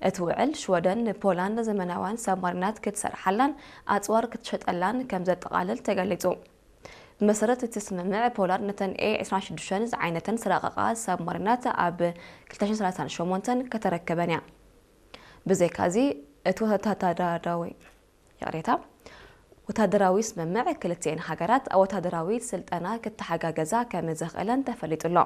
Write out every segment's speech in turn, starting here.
እቲ ውዕል ሽወደን ንፖላንድ ዘመናውያን ሳብማሪናት ክትሰርሓላን ኣጽዋር ክትሸጠላን ከም ዘጠቓልል ተገሊጹ። ብመሰረት እቲ ስምምዕ፣ ፖላንድ ነተን ኤ ዕስራን ሽዱሽተን ዝዓይነተን ዝረቐቓ ሳብማሪናት ኣብ ክልተ ሽሕን ሰላሳን ሸሞንተን ከተረክበን እያ። ብዘይካዚ፣ እቲ ወታደራዊ፣ ይቕሬታ፣ ወታደራዊ ስምምዕ ክልቲኤን ሃገራት ኣብ ወታደራዊ ስልጠና ክተሓጋገዛ ከም ዘኽእለን ተፈሊጡ ኣሎ።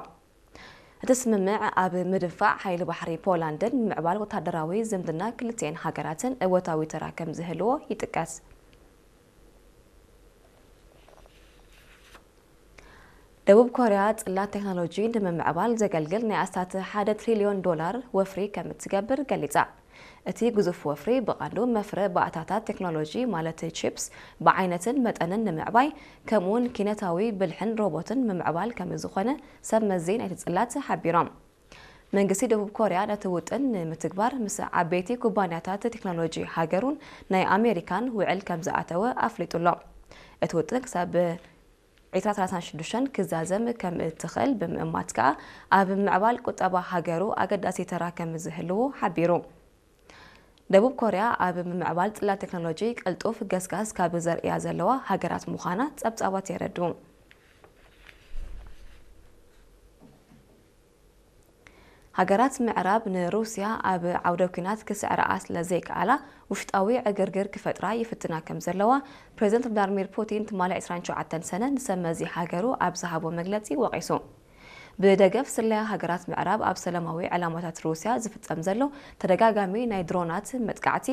እቲ ስምምዕ ኣብ ምድንፋዕ ሓይሊ ባሕሪ ፖላንድን ምምዕባል ወታደራዊ ዝምድና ክልቲኤን ሃገራትን እወታዊ ተራ ከም ዝህልዎ ይጥቀስ። ደቡብ ኮርያ ጽላት ቴክኖሎጂ ንምምዕባል ዘገልግል ናይ ኣስታት ሓደ ትሪልዮን ዶላር ወፍሪ ከም እትገብር ገሊጻ። እቲ ግዙፍ ወፍሪ ብቐንዱ መፍረ ባእታታት ቴክኖሎጂ ማለት ቺፕስ ብዓይነትን መጠንን ንምዕባይ፣ ከምኡውን ኪነታዊ ብልሕን ሮቦትን ምምዕባል ከም ዝኾነ ሰብ መዚ ናይቲ ጽላት ሓቢሮም። መንግስቲ ደቡብ ኮርያ ነቲ ውጥን ንምትግባር ምስ ዓበይቲ ኩባንያታት ቴክኖሎጂ ሃገሩን ናይ ኣሜሪካን ውዕል ከም ዝኣተወ ኣፍሊጡ ኣሎ። እቲ ውጥን ክሳብ ዕስራ ሰላሳ ሽዱሽተ ክዛዘም ከም እትኽእል ብምእማት ከኣ ኣብ ምዕባል ቁጠባ ሃገሩ ኣገዳሲ ተራ ከም ዝህልዎ ሓቢሩ። ደቡብ ኮርያ ኣብ ምምዕባል ጽላት ቴክኖሎጂ ቅልጡፍ ገስጋስ ካብ ዘርእያ ዘለዋ ሃገራት ምዃና ጸብጻባት የረድኡ። ሃገራት ምዕራብ ንሩስያ ኣብ ዓውደ ኲናት ክስዕርኣ ስለ ዘይከኣላ፣ ውሽጣዊ ዕግርግር ክፈጥራ ይፍትና ከም ዘለዋ ፕሬዝደንት ቭላድሚር ፑቲን ትማሊ ዕስራን ትሽዓተን ሰነ ንሰብ መዚ ሃገሩ ኣብ ዝሃቦ መግለጺ ወቒሱ። ብደገፍ ስለያ ሃገራት ምዕራብ ኣብ ሰላማዊ ዕላማታት ሩስያ ዝፍጸም ዘሎ ተደጋጋሚ ናይ ድሮናት መጥቃዕቲ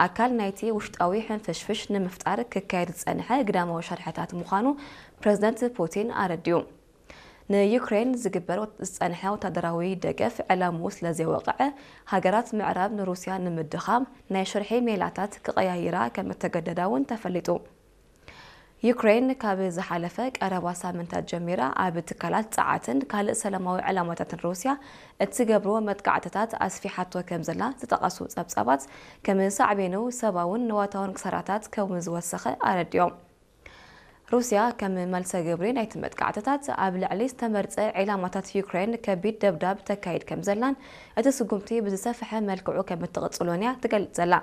ኣካል ናይቲ ውሽጣዊ ሕንፍሽፍሽ ንምፍጣር ክካየድ ዝጸንሐ ግዳማዊ ሸርሕታት ምዃኑ ፕሬዝደንት ፑቲን ኣረዲኡ። ንዩክሬን ዝግበር ዝጸንሐ ወታደራዊ ደገፍ ዕላምኡ ስለ ዘይወቕዐ፣ ሃገራት ምዕራብ ንሩስያ ንምድኻም ናይ ሽርሒ ሜላታት ክቐያይራ ከም እተገደዳ እውን ተፈሊጡ። ዩክሬን ካብ ዝሓለፈ ቀረባ ሳምንታት ጀሚራ ኣብ ትካላት ጸዓትን ካልእ ሰላማዊ ዕላማታትን ሩስያ እትገብሮ መጥቃዕትታት ኣስፊሓቶ ከም ዘላ ዝጠቐሱ ጸብጻባት፣ ከም ሳዕቤኑ ሰብኣውን ንዋታውን ክሳራታት ከም ዝወሰኸ ኣረዲኦም። ሩስያ ከም መልሰ ግብሪ ናይቲ መጥቃዕትታት ኣብ ልዕሊ ዝተመርጸ ዒላማታት ዩክሬን ከቢድ ደብዳብ ተካይድ ከም ዘላን እቲ ስጉምቲ ብዝሰፍሐ መልክዑ ከም እትቕጽሎን እያ ትገልጽ ዘላ።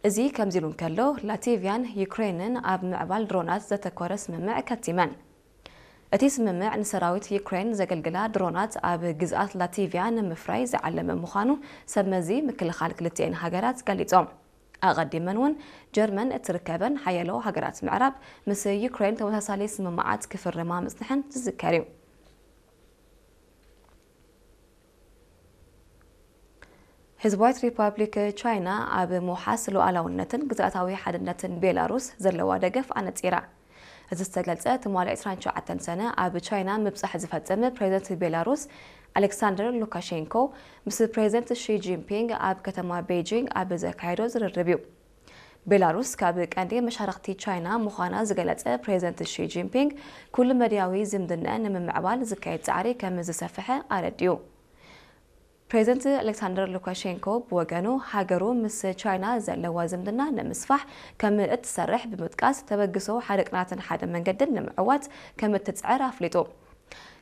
እዚ ከምዚ ኢሉ እንከሎ፣ ላቲቪያን ዩክሬንን ኣብ ምዕባል ድሮናት ዘተኮረ ስምምዕ ከቲመን። እቲ ስምምዕ ንሰራዊት ዩክሬን ዘገልግላ ድሮናት ኣብ ግዝኣት ላቲቪያ ንምፍራይ ዝዓለመ ምዃኑ ሰብ መዚ ምክልኻል ክልቲኤን ሃገራት ገሊጾም። ኣቐዲመን እውን ጀርመን እትርከበን ሓያሎ ሃገራት ምዕራብ ምስ ዩክሬን ተመሳሳሊ ስምምዓት ክፍርማ ምጽንሐን ዝዝከር እዩ። ህዝባዊት ሪፓብሊክ ቻይና ኣብ ምውሓስ ሉዓላውነትን ግዝኣታዊ ሓድነትን ቤላሩስ ዘለዋ ደገፍ ኣነጺራ። እዚ ዝተገልጸ ትማሊ ዕስራን ትሽዓተን ሰነ ኣብ ቻይና ምብጻሕ ዝፈጸመ ፕሬዝደንት ቤላሩስ ኣሌክሳንደር ሉካሼንኮ ምስ ፕሬዝደንት ሺ ጂንፒንግ ኣብ ከተማ ቤጂንግ ኣብ ዘካየዶ ዝርርብ እዩ። ቤላሩስ ካብ ቀንዲ መሻርኽቲ ቻይና ምዃና ዝገለጸ ፕሬዝደንት ሺ ጂንፒንግ፣ ኩሉ መድያዊ ዝምድንአን ንምምዕባል ዝካየድ ጻዕሪ ከም ዝሰፍሐ ኣረዲኡ። ፕሬዝደንት ኣሌክሳንደር ሉካሼንኮ ብወገኑ፣ ሃገሩ ምስ ቻይና ዘለዋ ዝምድና ንምስፋሕ ከም እትሰርሕ ብምጥቃስ፣ ተበግሶ ሓደ ቅናትን ሓደ መንገድን ንምዕዋት ከም እትጽዕር ኣፍሊጡ።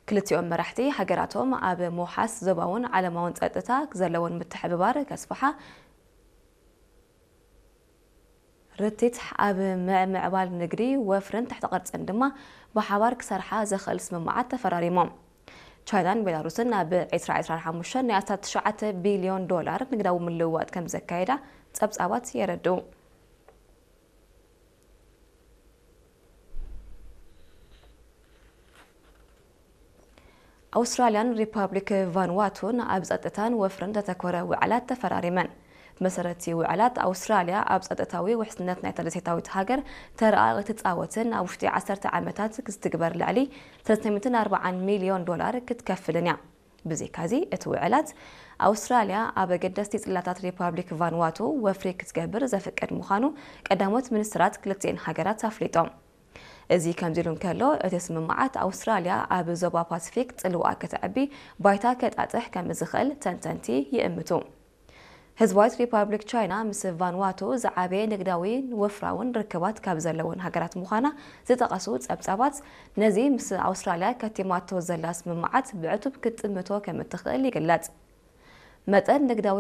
ክልቲኦም መራሕቲ፣ ሃገራቶም ኣብ ምውሓስ ዞባውን ዓለማውን ጸጥታ ዘለወን ምትሕብባር ከስፍሓ፣ ርቲት ኣብ ምዕምዕባል ንግዲ፣ ወፍርን ትሕተ ቅርጽን ድማ ብሓባር ክሰርሓ ዘኽእል ስምምዓት ተፈራሪሞም። ቻይናን ቤላሩስን ኣብ ዕስራ ዕስራን ሓሙሽተን ናይ ኣስታት ትሽዓተ ቢልዮን ዶላር ንግዳዊ ምልውዋጥ ከም ዘካየዳ ጸብጻባት የረድኡ። ኣውስትራልያን ሪፓብሊክ ቫንዋቱን ኣብ ጸጥታን ወፍርን ዘተኮረ ውዕላት ተፈራሪመን። ብመሰረት እቲ ውዕላት፣ ኣውስትራልያ ኣብ ጸጥታዊ ውሕስነት ናይታ ደሴታዊት ሃገር ተረኣ ክትጻወትን ኣብ ውሽጢ ዓሰርተ ዓመታት ክትግበር ልዕሊ ሰለስተ ሚእትን ኣርባዓን ሚልዮን ዶላር ክትከፍልን እያ። ብዘይካዚ፣ እቲ ውዕላት ኣውስትራልያ ኣብ ኣገደስቲ ጽላታት ሪፓብሊክ ቫንዋቱ ወፍሪ ክትገብር ዘፍቅድ ምዃኑ ቀዳሞት ሚኒስትራት ክልቲኤን ሃገራት ኣፍሊጦም። እዚ ከምዚ ኢሉ እንከሎ፣ እቲ ስምምዓት ኣውስትራልያ ኣብ ዞባ ፓሲፊክ ጽልዋ ከተዕቢ ባይታ ከጣጥሕ ከም ዝኽእል ተንተንቲ ይእምቱ። ህዝባዊት ሪፓብሊክ ቻይና ምስ ቫንዋቱ ዝዓበየ ንግዳዊ ወፍራውን ርክባት ካብ ዘለወን ሃገራት ምዃና ዝጠቐሱ ጸብጻባት፣ ነዚ ምስ ኣውስትራልያ ከቲማቶ ዘላ ስምምዓት ብዕቱብ ክትጥምቶ ከም እትኽእል ይግለጽ። መጠን ንግዳዊ